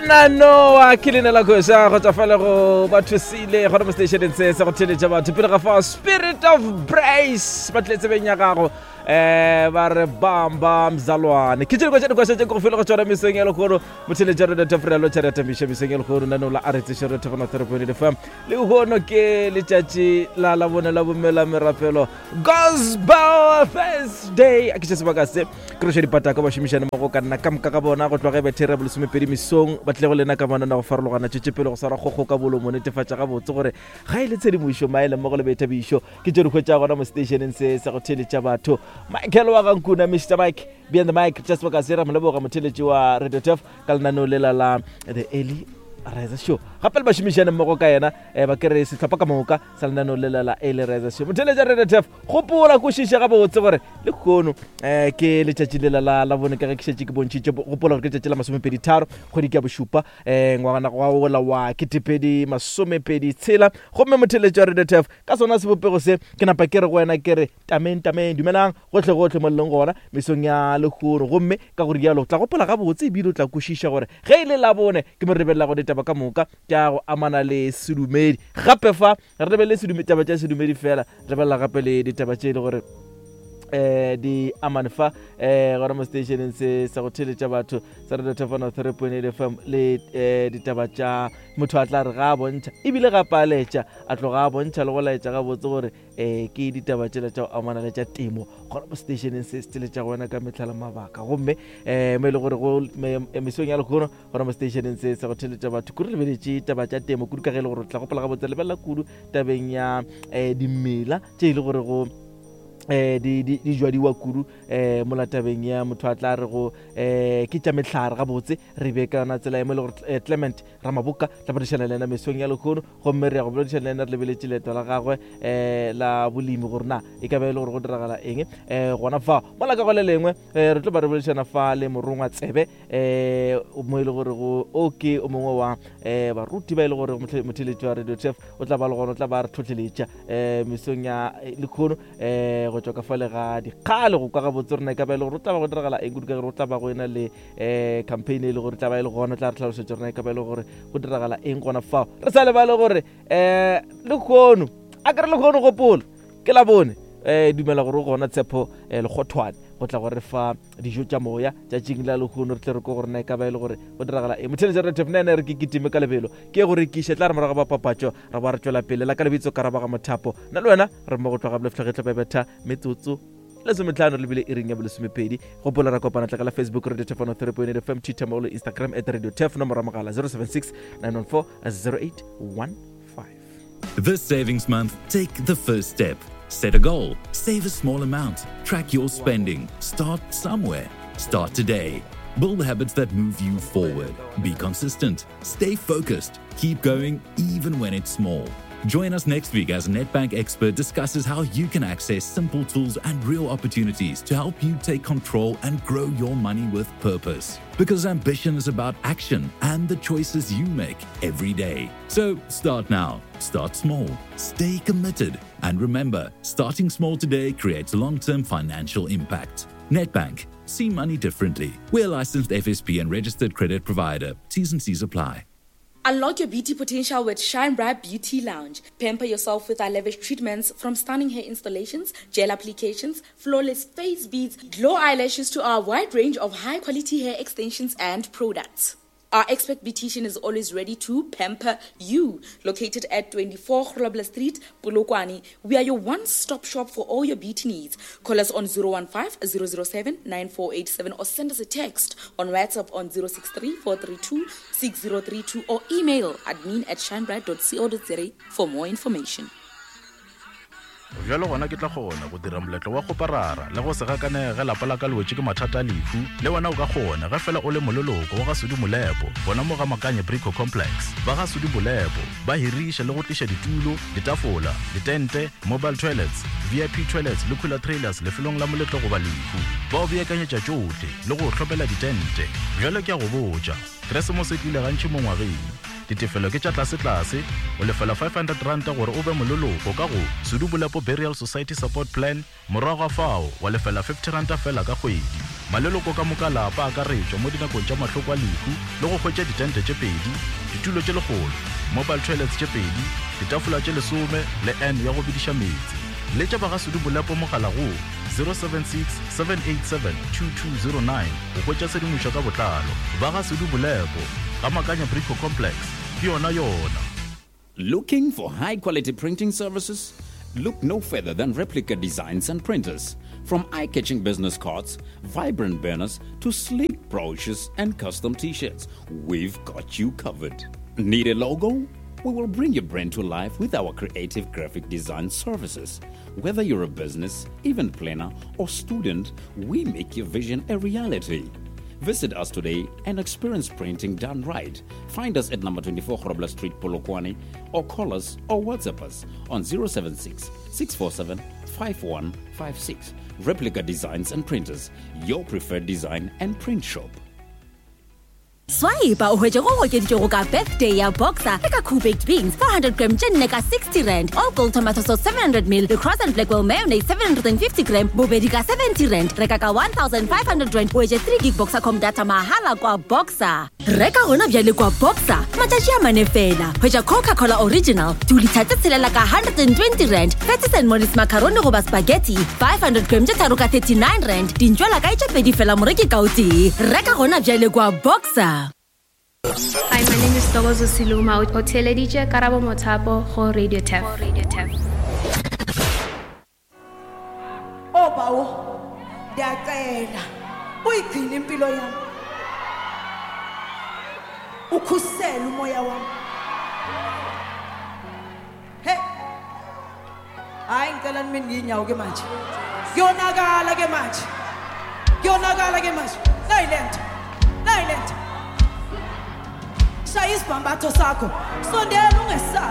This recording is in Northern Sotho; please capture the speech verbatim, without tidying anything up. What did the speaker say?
Trevor Noah ke leina la koša go tswa fale go ba thusile gona mo stationeng se sa go theletša batho pele ga fa Spirit of Brace ba tlile tsebeng ya gago um ba re bamba mzalwane ke tše dikwa tša dikoša tše ke go file go tšona mesong ya lekgono motheletša re data lo tšha rata miša mesong ya lekgono nano la aretse re thefana three point fm le lehono ke letšatši la labone la bomela merapelo Gospel Thursday a ke tše sebaka se ke roša dipataka ba šomišane mo go ka nna ka moka ka bona go tloga bethere ya bolesomepedi mesong ba tlile go lena ka manana go farologana tšwetše pele go swara kgokgo ka bolomo netefatša gabotse gore ga e le tshedimošo maele mmogo le boithabišo ke tše di hwetša gona mo stationeng se sa go theletša batho Michael wa gankuna Mr Mike behind the mic tša sebaka se ra mo leboga motheletši wa Radio Tef ka lenaneo lela la The Early Riser Show gape le bašomišane mmogo ka yena um ba kere sehlopha ka moka sa lenaneo lela la Early Riser Show motheletša Radio Tef gopola kwešiša gabotse gore le kgono um ke letšatši lela la la bone ka ge ke šetše ke bontšhitše gopola gore ke letšatši la masomepedi tharo kgwedi ke ya bošupa um ngwana wa ola wa ketepedi masomepedi tshela gomme motheletši wa Radio Tef ka sona sebopego se ke napa ke re go wena ke re tameng tameng dumelang gotlhe gotlhe mo leng gona mesong ya lehono gomme ka gore jalo tla gopola gabotse ebile o tla kwešiša gore ge e le labone ke mo re lebelelago ditaba ka moka tša go amana le sedumedi gape fa re lebelele sedume- taba tša sedumedi fela re lebelela gape le ditaba tše e le gore eh di amane fa eh gona mo stationeng se sa go theletša batho sa Radio Tefano three point eight F M le eh ditaba tša motho a tla re ga a bontšha ebile gape a laetša a tloga a bontšha le go laetša gabotse gore eh ke ditaba tšela tša go amana le tša temo gona mo stationeng se se theletša go wena ka metlha le mabaka gomme eh mo e le gore go mesong ya lekgono gona mo stationeng se sa go theletša batho kudu re lebeletše taba tša temo kudu ka ge e le gore o tla gopola gabotse lebelela kudu tabeng ya eh dimela tše e le gore go eh di di di jwadiwa kudu eh mo tabeng ya motho a tla re go eh ke tša mehlare gabotse re be ka yona tsela e mo e le gore eh, Clement Ramaboka tla boledišana le yena mesong ya lekgono gomme re ya go boledišana le yena re lebeletše leeto la gagwe eh la bolemi gore na e ka ba e le gore go diragala eng eh gona fa mola ka go le lengwe eh re tlo ba re boledišana fa le morongwa tsebe eh mo e le gore go o ke o mongwe wa eh baruti ba e le gore motheletši wa Radio Tef o tla ba le gona o tla ba re tlhotlheletša eh mesong ya lekgono eh go tšwa ka fale ga dikgale go kwa gabotse rena e ka ba e le gore o tla ba go diragala eng kudu ka gore o tla ba go ena le um campaign e le gore tla ba e le gona o tla re tlhalosetša rena e ka ba e le gore go diragala eng gona fao re sa lebale gore um lekgono a kere lekgono gopola ke la bone um dumela gore o gona Tshepo um Lekgothwane go tla gore fa dijo tša moya tšatšing la lehono re tle re ko gore na e ka ba e le gore go diragala eng motheletša re tef nene re ke kitime ka lebelo ke go rekiša tla re morago ba papatšo ra ba re tšwela pele la ka lebitso ka rabaga mothapo nna le wena re mo go tloga boleftlhagetlo bebetha metsotso lesometlhano re lebile iring ya bolesomepedi gopola ra kopana tla ka la Facebook Radio Tef one three point eight F M, Twitter mo le Instagram at Radio Tef, nomoro ya mogala zero seven six nine one four zero eight one five. This savings month, take the first step. Set a goal, save a small amount, track your spending, start somewhere. Start today. Build habits that move you forward. Be consistent, stay focused, keep going even when it's small. Join us next week as a Nedbank expert discusses how you can access simple tools and real opportunities to help you take control and grow your money with purpose. Because ambition is about action and the choices you make every day. So start now, start small, stay committed, and remember, starting small today creates long term financial impact. Nedbank, see money differently. We're a licensed F S P and registered credit provider. T's and C's apply. Unlock your beauty potential with Shine Bright Beauty Lounge. Pamper yourself with our lavish treatments, from stunning hair installations, gel applications, flawless face beads, glow eyelashes to our wide range of high quality hair extensions and products. Our expert beautician is always ready to pamper you. Located at twenty-four Grobler Street, Polokwane, we are your one-stop shop for all your beauty needs. Call us on zero one five zero zero seven nine four eight seven or send us a text on WhatsApp on zero six three four three two six zero three two or email admin at shinebright dot co dot za for more information. Bjalo gona ke tla kgona go dira moletlo wa kgoparara le go se gakanege ge lapa la ka le wetše ke mathata a lehu. Le wena o ka kgona ge fela o le moleloko wa ga Sudi Molepo gona mo ga Makanye Brico Complex. Ba ga Sudi Molepo ba hiriša le go tliša ditulo, ditafola, ditente, mobile toilets, V I P toilets le cooler trailers lefelong la moletlo goba lehu. Ba o beakanyetša tšohle le go hlopela ditente. Bjalo ke a go botša, Keresemose e tlile gantši mo ngwageng. Ditefelo ke tša tlase-tlase, o lefela five hundred ranta gore o be moleloko ka go Sudu Bolepo Burial Society Support Plan, morago ga fao wa lefela fifty ranta fela ka kgwedi. Maleloko ka moka lapa akaretšwa mo dinakong tša mahloko a lehu le go hwetša ditente tše pedi, ditulo tše lekgolo, mobile toilets tše pedi, ditafola tše lesome le n ya go bediša meetse. Letša ba ga Sudu Molepo mogala go zero seven six seven eight seven two two zero nine go hwetša tshedimošo ka botlalo. Ba ga Sudu Molepo, ga Makanya Brico Complex, ke yona yona. Looking for high quality printing services? Look no further than Replica Designs and Printers. From eye-catching business cards, vibrant banners, to sleek brochures and custom t-shirts, we've got you covered. Need a logo? We will bring your brand to life with our creative graphic design services. Whether you're a business, event planner, or student, we make your vision a reality. Visit us today and experience printing done right. Find us at number twenty-four Grobler Street, Polokwane, or call us or WhatsApp us on zero seven six, six four seven, five one five six. Replica Designs and Printers, your preferred design and print shop. Swipe o hwetše go okeditšego ka birthday ya Boxer le ka Cool Baked Beans four hundred gram tše nne ka sixty rand, All Gold Tomato Sauce seven hundred mil le Cross and Blackwell Mayonnaise seven hundred and fifty gram bobedi ka seventy rand. Reka ka one thousand five hundred rand o hwetše three gig Boxercom data mahala kwa Boxer. Reka gona bjale kwa Boxer matšatši a mane fela. Hwetša Coca-Cola Original two litre tše tshelela ka hundred and twenty rand, Patties and Mollies macaroni goba spaghetti five hundred gram tše tharo ka thirty-nine rand, dintšwela kae tše pedi fela moreki ka o tee. Reka gona bjale kwa Boxer. Hi, my name is Togozo Siluma. O theeleditše Karabo Mothapo go Radio Tef. Radio Tef. Oh bawo, ndiyacela uyigcine impilo yami. Ukhusele umoya wami. Hey. Hayi ngicela nime nginyawo ke manje. Kuyonakala ke manje. Kuyonakala ke manje. Nayi lento. Nayi lento. Shaya isibhambatho sakho. Sondela ungesabi.